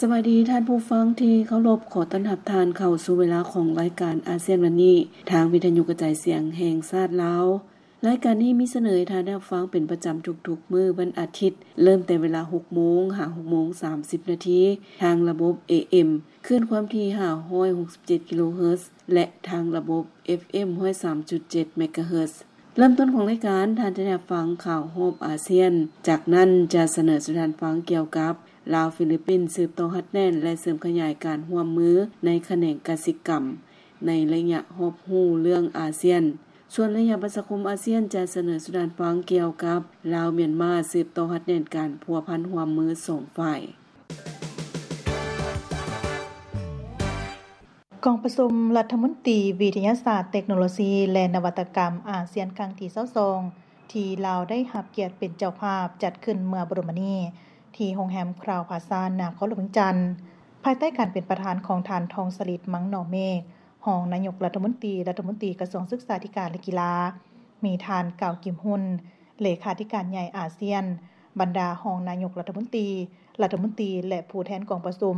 ສະບາຍດີທ່ານຜູ້ຟັງທີ່ເຄົາລົບ, ຂໍຕ້ອນຮັບທ່ານເຂົ້າສູ່ເວລາຂອງລາຍການອາຊຽນວັນນີ້ ທາງວິທະຍຸກະຈາຍສຽງແຫ່ງຊາດລາວ. ລາຍການນີ້ມີສະເໜີໃຫ້ທ່ານໄດ້ຮັບຟັງເປັນປະຈຳທຸກໆມື້ວັນອາທິດ, ເລີ່ມແຕ່ເວລາຫົກໂມງຫາຫົກໂມງສາມສິບນາທີ ທາງລະບົບ ເອເອັມ ຄື້ນຄວາມຖີ່ຫ້າຮ້ອຍຫົກສິບເຈັດກິໂລເຮີດ ແລະ ທາງລະບົບ ເອັຟເອັມ ຮ້ອຍສາມຈຸດເຈັດເມກາເຮີດ. ເລີ່ມຕົ້ນຂອງລາຍການ, ທ່ານຈະໄດ້ຮັບຟັງຂ່າວຮອບອາຊຽນ. ຈາກນັ້ນຈະສະເໜີສູ່ທ່ານຟັງກ່ຽວກັບ ລາວ-ຟີລິບປິນ ສືບຕໍ່ຮັດແໜ້ນ ແລະ ເສີມຂະຫຍາຍການຮ່ວມມືໃນຂະແໜງກະສິກຳ ໃນໄລຍະຮອບຮູ້ເລື່ອງອາຊຽນ. ສ່ວນໄລຍະປະຊາຄົມອາຊຽນ ຈະສະເໜີສູ່ທ່ານຟັງກ່ຽວກັບ ລາວ-ມຽນມາ ສືບຕໍ່ຮັດແໜ້ນການພົວພັນຮ່ວມມືສອງຝ່າຍ. ກອງປະຊຸມລັດຖະມົນຕີວິທະຍາສາດ, ເຕັກໂນໂລຊີ ແລະ ນະວັດຕະກຳອາຊຽນຄັ້ງທີຊາວສອງ ທີ່ລາວໄດ້ຮັບກຽດເປັນເຈົ້າພາບຈັດຂຶ້ນເມື່ອບໍ່ດົນມານີ້ ທີ່ໂຮງແຮມຄຣາວພາຊາ ນະຄອນຫຼວງວຽງຈັນ, ພາຍໃຕ້ການເປັນປະທານຂອງທ່ານ ທອງສະລິດ ມັງໜໍ່ເມກ ຮອງນາຍົກລັດຖະມົນຕີ, ລັດຖະມົນຕີກະຊວງສຶກສາທິການ ແລະ ກິລາ, ມີທ່ານ ກາວ ກິມຮຸນ ເລຂາທິການໃຫຍ່ອາຊຽນ, ບັນດາຮອງນາຍົກລັດຖະມົນຕີ, ລັດຖະມົນຕີ ແລະ ຜູ້ແທນກອງປະຊຸມ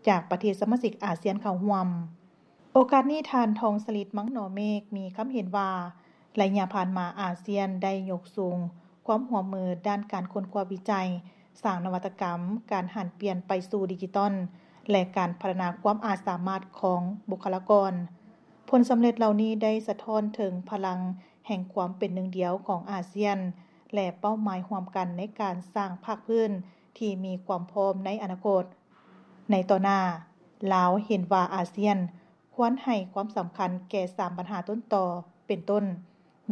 ຈາກປະເທດສະມາຊິກອາຊຽນເຂົ້າຮ່ວມ. ໂອກາດນີ້ ທ່ານ ທອງສະລິດ ມັງໜໍ່ເມກ ມີຄຳເຫັນວ່າ ໄລຍະຜ່ານມາອາຊຽນໄດ້ຍົກສູງຄວາມຮ່ວມມືດ້ານການຄົ້ນຄວ້າວິໄຈ, ສ້າງນະວັດຕະກຳ, ການຫັນປ່ຽນໄປສູ່ດິຈິຕອນ ແລະ ການພັດທະນາຄວາມອາດສາມາດຂອງບຸກຄະລາກອນ. ຜົນສຳເລັດເຫຼົ່ານີ້ໄດ້ສະທ້ອນເຖິງພະລັງແຫ່ງຄວາມເປັນໜຶ່ງດຽວຂອງອາຊຽນ ແລະ ເປົ້າໝາຍຮ່ວມກັນໃນການສ້າງພາກພື້ນທີ່ມີຄວາມພ້ອມໃນອະນາຄົດ. ໃນຕໍ່ໜ້າ, ລາວເຫັນວ່າອາຊຽນຄວນໃຫ້ຄວາມສຳຄັນແກ່ສາມບັນຫາຕົ້ນຕໍ ເປັນຕົ້ນ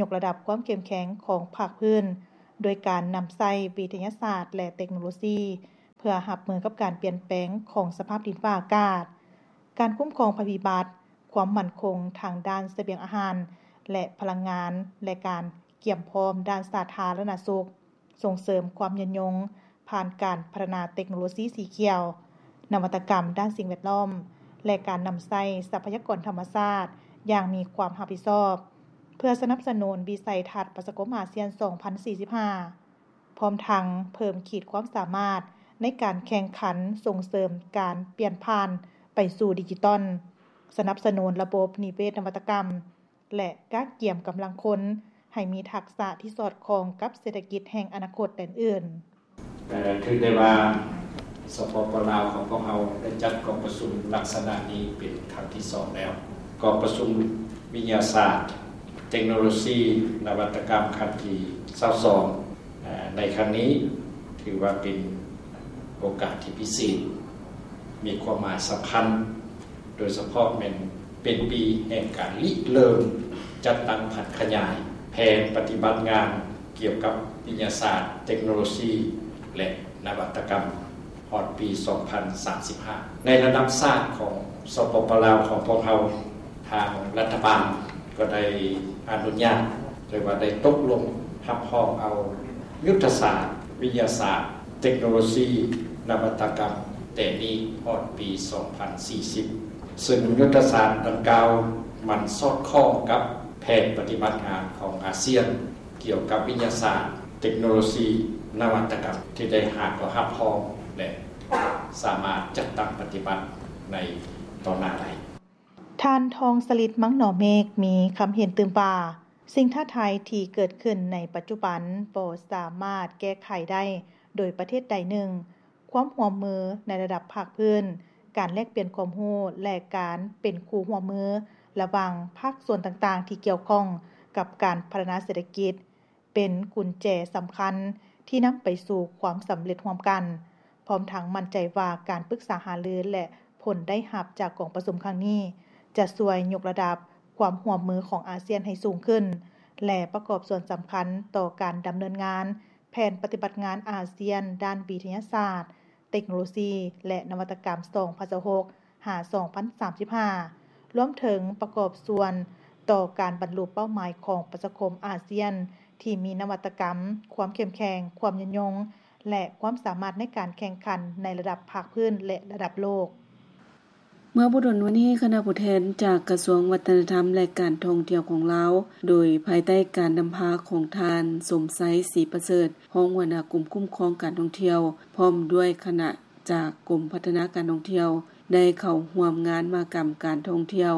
ຍົກລະດັບຄວາມເຂັ້ມແຂງຂອງພາກພື້ນ ໂດຍການນຳໃຊ້ວິທະຍາສາດ ແລະ ເຕັກໂນໂລຊີ ເພື່ອຮັບມືກັບການປ່ຽນແປງຂອງສະພາບດິນຟ້າອາກາດ, ການຄຸ້ມຄອງໄພພິບັດ, ຄວາມໝັ້ນຄົງທາງດ້ານສະບຽງອາຫານ ແລະ ພະລັງງານ ແລະ ການກຽມພ້ອມດ້ານສາທາລະນະສຸກ, ສົ່ງເສີມຄວາມຍືນຍົງຜ່ານການພັດທະນາເຕັກໂນໂລຊີສີຂຽວ, ນະວັດຕະກຳດ້ານສິ່ງແວດລ້ອມ ແລະ ການນຳໃຊ້ຊັບພະຍາກອນທຳມະຊາດຢ່າງມີຄວາມຮັບຜິດຊອບ, ເພື່ອສະໜັບສະໜູນວິໄສທັດປະຊາຄົມອາຊຽນສອງພັນສີ່ສິບຫ້າ ພ້ອມທັງເພີ່ມຂີດຄວາມສາມາດໃນການແຂ່ງຂັນສົ່ງເສີມການປ່ຽນຜ່ານໄປສູ່ດິຈິຕອນ, ສະໜັບສະໜູນລະບົບນິເວດນະວັດຕະກຳ ແລະ ກະກຽມກຳລັງຄົນໃຫ້ມີທັກສະທີ່ສອດຄ່ອງກັບເສດຖະກິດແຫ່ງອະນາຄົດແດນອື່ນ. ເອີ ຖືໄດ້ວ່າ ສປປ ລາວຂອງພວກເຮົາໄດ້ຈັດກອງປະຊຸມລັກສະນະນີ້ເປັນຄັ້ງທີສອງແລ້ວ. ກອງປະຊຸມວິທະຍາສາດ, ເຕັກໂນໂລຊີ, ນະວັດຕະກຳຄັ້ງທີຊາວສອງ ເອີ ໃນຄັ້ງນີ້ ຖືວ່າເປັນໂອກາດທີ່ພິເສດ, ມີຄວາມໝາຍສຳຄັນ, ໂດຍສະເພາະແມ່ນເປັນປີແຫ່ງການລິເລີ່ມຈັດຕັ້ງຜັນຂະຫຍາຍແຜນປະຕິບັດງານກ່ຽວກັບວິທະຍາສາດ, ເຕັກໂນໂລຊີ ແລະ ນະວັດຕະກຳ ຮອດປີສອງພັນສາມສິບຫ້າ. ໃນລະດັບຊາດຂອງ ສປປ ລາວຂອງພວກເຮົາ, ທາງລັດຖະບານກໍໄດ້ອະນຸຍາດ ຫຼືວ່າໄດ້ຕົກລົງຮັບຮອງເອົາຍຸດທະສາດວິທະຍາສາດ, ເຕັກໂນໂລຊີ, ນະວັດຕະກຳ ແຕ່ນີ້ຮອດປີສອງພັນສີ່ສິບ ເຊິ່ງຍຸດທະສາດດັ່ງກ່າວມັນສອດຄ່ອງກັບແຜນປະຕິບັດງານຂອງອາຊຽນ ກ່ຽວກັບວິທະຍາສາດ, ເຕັກໂນໂລຊີ, ນະວັດຕະກຳ ທີ່ໄດ້ຫາກໍຮັບຮອງ ແລະ ສາມາດຈັດຕັ້ງປະຕິບັດໃນຕໍ່ໜ້າໄດ້. ທ່ານ ທອງສະລິດ ມັງໜໍ່ເມກ ມີຄຳເຫັນຕື່ມວ່າ ສິ່ງທ້າທາຍທີ່ເກີດຂຶ້ນໃນປັດຈຸບັນບໍ່ສາມາດແກ້ໄຂໄດ້ໂດຍປະເທດໃດໜຶ່ງ. ຄວາມຮ່ວມມືໃນລະດັບພາກພື້ນ, ການແລກປ່ຽນຄວາມຮູ້ ແລະ ການເປັນຄູ່ຮ່ວມມືລະຫວ່າງພາກສ່ວນຕ່າງໆທີ່ກ່ຽວຂ້ອງກັບການພັດທະນາເສດຖະກິດ ເປັນກຸນແຈສຳຄັນທີ່ນຳໄປສູ່ຄວາມສຳເລັດຮ່ວມກັນ, ພ້ອມທັງໝັ້ນໃຈວ່າການປຶກສາຫາລື ແລະ ຜົນໄດ້ຮັບຈາກກອງປະຊຸມຄັ້ງນີ້ ຈະຊ່ວຍຍົກລະດັບຄວາມຮ່ວມມືຂອງອາຊຽນໃຫ້ສູງຂຶ້ນ ແລະ ປະກອບສ່ວນສຳຄັນຕໍ່ການດຳເນີນງານແຜນປະຕິບັດງານອາຊຽນດ້ານວິທະຍາສາດ, ເຕັກໂນໂລຊີ ແລະ ນະວັດຕະກຳ ສອງພັນຊາວຫົກ ຫາ ສອງພັນສາມສິບຫ້າ ລວມເຖິງປະກອບສ່ວນຕໍ່ການບັນລຸເປົ້າໝາຍຂອງປະຊາຄົມອາຊຽນທີ່ມີນະວັດຕະກຳ, ຄວາມເຂັ້ມແຂງ, ຄວາມຍືນຍົງ ແລະ ຄວາມສາມາດໃນການແຂ່ງຂັນໃນລະດັບພາກພື້ນ ແລະ ລະດັບໂລກ. ເມື່ອບໍ່ດົນມານີ້, ຄະນະຜູ້ແທນຈາກກະຊວງວັດທະນະທຳ ແລະ ການທ່ອງທ່ຽວຂອງລາວ, ໂດຍພາຍໃຕ້ການນຳພາຂອງທ່ານ ສົມໄຊ ສີປະເສີດ, ຮອງຫົວໜ້າກົມຄຸ້ມຄອງການທ່ອງທ່ຽວ, ພ້ອມດ້ວຍຄະນະ ຈາກກົມພັດທະນາການທ່ອງທ່ຽວ ໄດ້ເຂົ້າຮ່ວມງານມະຫະກຳການທ່ອງທ່ຽວ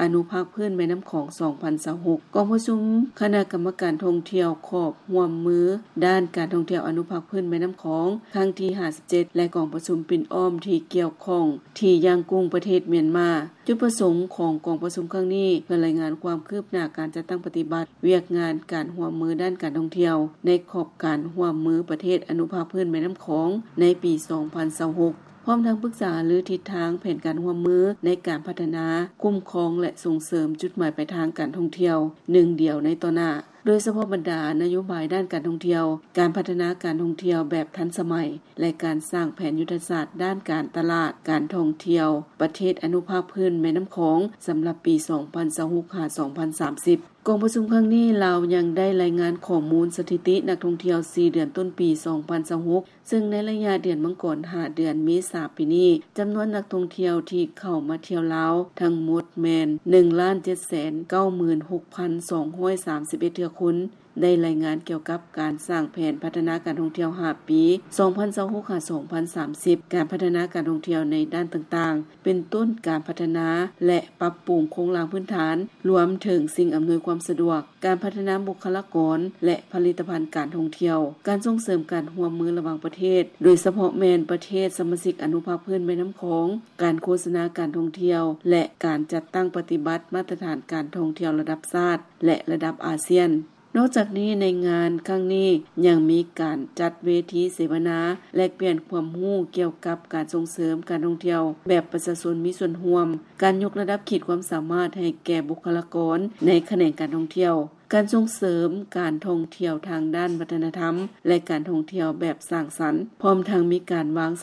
ອະນຸພາກພື້ນແມ່ນ້ຳຂອງ ສອງພັນຊາວຫົກ. ກອງປະຊຸມຄະນະກຳມະການທ່ອງທ່ຽວຄວບຮ່ວມມືດ້ານການທ່ອງທ່ຽວອະນຸພາກພື້ນແມ່ນ້ຳຂອງ ຄັ້ງທີຫ້າສິບເຈັດ ແລະ ກອງປະຊຸມປິ່ນອ້ອມທີ່ກ່ຽວຂ້ອງທີ່ຢ້າງກຸ້ງ ປະເທດມຽນມາ. ຈຸດປະສົງຂອງກອງປະຊຸມຄັ້ງນີ້ ເພື່ອລາຍງານຄວາມຄືບໜ້າການຈັດຕັ້ງປະຕິບັດວຽກງານການຮ່ວມມືດ້ານການທ່ອງທ່ຽວ ໃນຂອບການຮ່ວມມືປະເທດອະນຸພາກພື້ນແມ່ນ້ຳຂອງ ໃນປີສອງພັນຊາວຫົກ ພ້ອມທັງປຶກສາຫາລືທິດທາງແຜນການຮ່ວມມືໃນການພັດທະນາ, ຄຸ້ມຄອງ ແລະ ສົ່ງເສີມຈຸດໝາຍປາຍທາງການທ່ອງທ່ຽວໜຶ່ງດຽວໃນຕໍ່ໜ້າ, ໂດຍສະເພາະບັນດານະໂຍບາຍດ້ານການທ່ອງທ່ຽວ, ການພັດທະນາການທ່ອງທ່ຽວແບບທັນສະໄໝ ແລະ ການສ້າງແຜນຍຸດທະສາດດ້ານການຕະຫຼາດການທ່ອງທ່ຽວປະເທດອະນຸພາກພື້ນແມ່ນ້ຳຂອງ ສຳລັບປີສອງພັນຊາວຫົກ ຫາ ສອງພັນສາມສິບ. ກອງປະຊຸມຄັ້ງນີ້ ລາວຍັງໄດ້ລາຍງານຂໍ້ມູນສະຖິຕິນັກທ່ອງທ່ຽວສີ່ເດືອນຕົ້ນປີສອງພັນຊາວຫົກ ເຊິ່ງໃນໄລຍະເດືອນມັງກອນ ຫາ ເດືອນເມສາປີນີ້ ຈຳນວນນັກທ່ອງທ່ຽວທີ່ເຂົ້າມາທ່ຽວລາວທັງໝົດແມ່ນ ໜຶ່ງລ້ານເຈັດແສນເກົ້າໝື່ນຫົກພັນສອງຮ້ອຍສາມສິບເອັດເທື່ອຄົນ. ໄດ້ລາຍງານກ່ຽວກັບການສ້າງແຜນພັດທະນາການທ່ອງທ່ຽວຫ້າປີ ສອງພັນຊາວຫົກ ຫາ ສອງພັນສາມສິບ ການພັດທະນາການທ່ອງທ່ຽວໃນດ້ານຕ່າງໆ ເປັນຕົ້ນການພັດທະນາ ແລະ ປັບປຸງໂຄງລ່າງພື້ນຖານ ລວມເຖິງສິ່ງອຳນວຍຄວາມສະດວກ, ການພັດທະນາບຸກຄະລາກອນ ແລະ ຜະລິດຕະພັນການທ່ອງທ່ຽວ, ການສົ່ງເສີມການຮ່ວມມືລະຫວ່າງປະເທດ ໂດຍສະເພາະແມ່ນປະເທດສະມາຊິກອະນຸພາກພື້ນແມ່ນ້ຳຂອງ, ການໂຄສະນາການທ່ອງທ່ຽວ ແລະ ການຈັດຕັ້ງປະຕິບັດມາດຕະຖານການທ່ອງທ່ຽວລະດັບຊາດ ແລະ ລະດັບອາຊຽນ. ນອກຈາກນີ້ ໃນງານຄັ້ງນີ້ຍັງມີການຈັດເວທີເສວະນາ ແລກປ່ຽນຄວາມຮູ້ກ່ຽວກັບການສົ່ງເສີມການທ່ອງທ່ຽວແບບປະຊາຊົນມີສ່ວນຮ່ວມ, ການຍົກລະດັບຂີດຄວາມສາມາດໃຫ້ແກ່ບຸກຄະລາກອນໃນຂະແໜງການທ່ອງທ່ຽວ, ການສົ່ງເສີມການທ່ອງທ່ຽວທາງດ້ານວັດທະນະທຳ ແລະ ການທ່ອງທ່ຽວແບບສ້າງສັນ, ພ້ອມທັງມີການວາງສ